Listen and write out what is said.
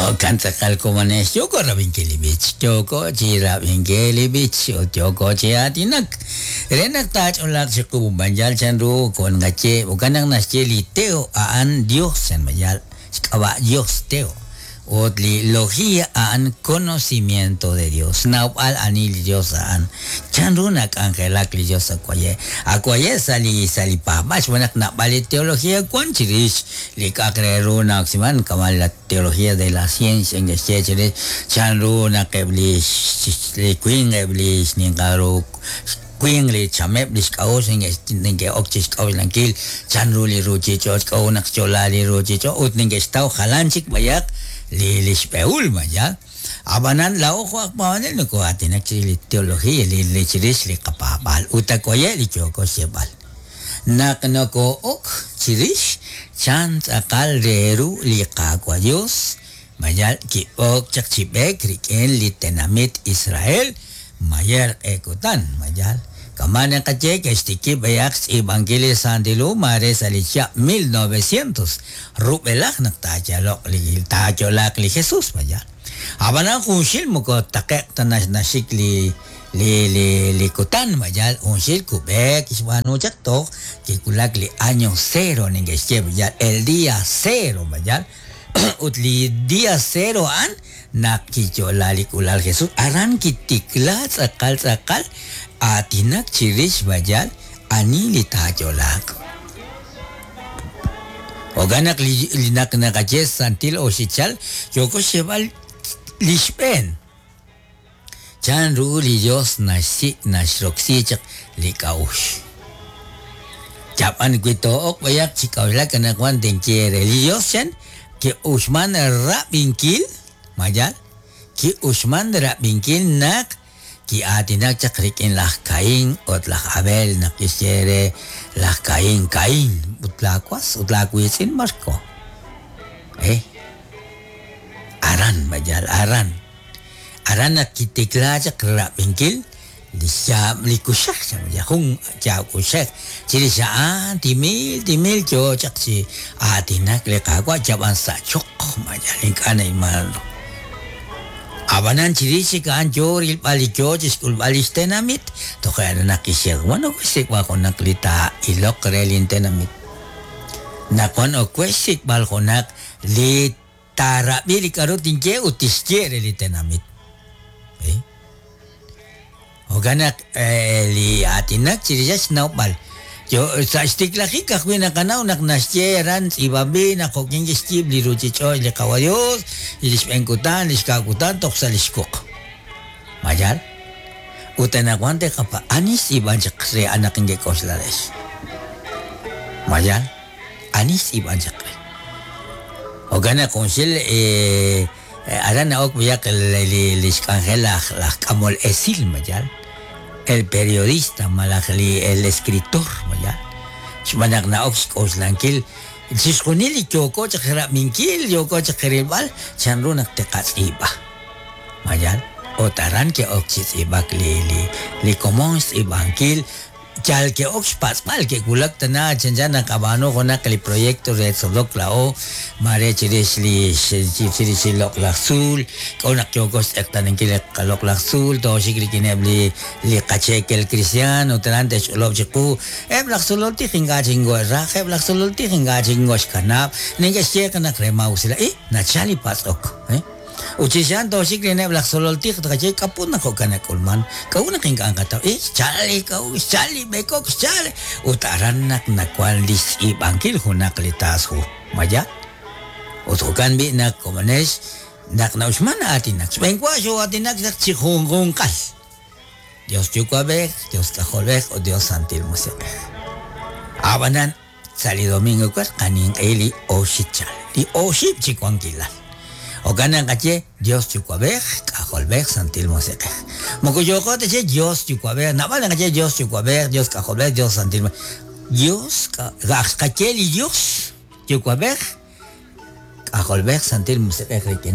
Jo'kan tz'aqal komonex, yooko rab'inkil li b'ich, yooko chi rab'inkil li b'ich ut yooko chi aatinak. Re naq taach'olaaq chiqu b'an yal chanru wan qaye, jo'kan naq naxye li Teo a'an Dios chan b'an yal xk'ab'a' Dios Teo. Ut li logía a'an conocimiento de Dios, xnawb'al ani li Dios a'an, chanru nak'anjelak li Dios awaye'. Awaye' sa' li sa' li paab'aal xb'aan naq naab'al li teología wan chirix li k'a'aq re ru na'oksiman kama' la teología de la ciencia neke'xye chirix chanru naq eb' li li winq eb' li xninqal ru winq li chameb' li xk'a'uxl neke'ok chi xk'a'uxlankil chanru li ruuchich'och' k'a'ut naq xyo'la li ruuchich'och' ut neke'xtaw jalan chik b'ayaq li li xb'ehul b'ayaq. Ab'anan laa'o jo' aj paab'anel nokoo'aatinak chirix li teología li li chirix li qapaab'aal ut awaye' li yooko xyeeb'al. Naq nokoo'ok chirix chan tz'aqal re ru li Qaawa' Dios, mayal ki'ok chaq chi b'eek rik'in li tenamit Israel mayer q'e kutan, mayal. Kama' naqaye ke'xtikib' b'ayaq xtz'iib'ankil li Santil Hu maare sa' li chihab' 1900 rub'elaj naq taayaloq li taayo'laaq li Jesús, mayal. Ab'anan junxil moko taqe'q ta naxik li li li li kutan, mayal junxil kub'eek kixb'aanu chaq toj kiwulak li año cero neke'xye mayal, el día cero, mayal. Ut li día cero a'an naq kiyo'la li k'uula'al Jesús, aran kitikla tz'aqal tz'aqal aatinak chirix mayal ani li taayo'laaq. Jo'kan naq li naq naqaye santil oxichal yooko xyeeb'al li xb'een. Chanru li Yos naxsik' naxroksi chaq li k'a'uxl. Chab'an wi too'ok b'ayaq chi k'a'uxlak anaqwan tinye eere, li Yos chan ki'uxman rab'inkil, ma yaal? Ki'uxman rab'inkil naq ki'aatinak chaq rik'in laj Caín ut laj Abel naq kixye re laj Caín, Caín, ut laawas ut laawiitz'in Marko. Eh? Aran, ma yaal, aran. Aran naq kitikla chaq rab'inkil li xyaab' li kuxej, jun yaab' kuxej. Chirix a'an timil timil yoo chaq chi aatinak li Qaawa' yab'an sa' choql ma yal ink'a' na'ilman ru. Ab'anan chirix chik a'an yoo rilb'al li yoo chixk'ulb'al lix tenamit, toje' naq kixye, Wan ok we xsik'b'al junaq li taa'iloq re lin tenamit. Naq wan ok we xsik'b'al junaq li Taarab'i li k'aru tinye ut tixye re li tenamit. Jo'kan naq li aatinak chirix xnawb'al. Yo sa' xtiklajik ajwi' naqanaw naq naxye aran tz'iib'anb'il naq jo'kin kixyiib' li ruuchich'och' li Qawa' Yos, li xb'een kutan, li xka' kutan toj sa' li xwuq. Ma yaal? Ut anaqwan te'qapa ani xtz'iib'an chaq re anaq inkek'oxla rex. Ma yaal? Ani xtz'iib'an chaq re? Jo'kan naq junxil aran na'ok b'ayaq li li xk'anjel laj laj k'amol esil ma yaal, el periodista malaj li el escritor ma yaal, xb'aan naq na'ok xk'oxlankil chixjunil li yooko chaq rab'inkil, yooko chaq rilb'al chanru naq tiqatz'iib'a. Ma yaal? Ut aran ke'ok chi tz'iib'ak li li li komon xtz'iib'ankil Yal ke'ok xpatz'b'al, ke'wulak tana chanchan naqab'aanu junaq li proyecto re tzolok laa'o, maare chirix li chirix li loq'laj tzuul, k'a'ut naq yooko xtz'eqtaanankil li qaloq'laj tzuul, tooxik rik'ineb' li li qacheekel kristiaan ut aran te'xch'olob' chiqu, eb' laj tzolol tij ink'a' chik nkohe'raj, eb' laj tzolol tij ink'a' chik nkoxkanab', neke'xye qe naq re maa'usilal, i, nachal li patz'ok. Ut chirix a'an tooxik rik'ineb' laj tzolol tij ut tqaye, K'a'ut naq jo'kan nak'ulman? K'a'ut naq ink'a' nqataw? Eh, xchal li k'a'uxl, xchal li b'ekok, xchal. Ut aran naq nawan li xtz'iib'ankil junaq li taas hu. Ma yaal? Ut jo'kan b'i' naq komonex, naq na'uxman aatinak, xb'een wa xoo'aatinak chaq chi junjunqal. Dios Yuwa'b'ej, Dios K'ajolb'ej ut Dios Santil Musiq'ej. A'b'anan, Sa' li domingo ewer qaninq'ehi li oxichal, li oxib' chi wankilal. Jo'kan naq naqaye Dios Yuwa'b'ej, K'ajolb'ej, Santil Musiq'ej. Moko yooqo ta che Dios Yuwa'b'ej, naab'al naqaye Dios Yuwa'b'ej, Dios K'ajolb'ej, Dios Santil Dios, xqaye li Dios Yuwa'b'ej, K'ajolb'ej, Santil Musiq'ej rik'in.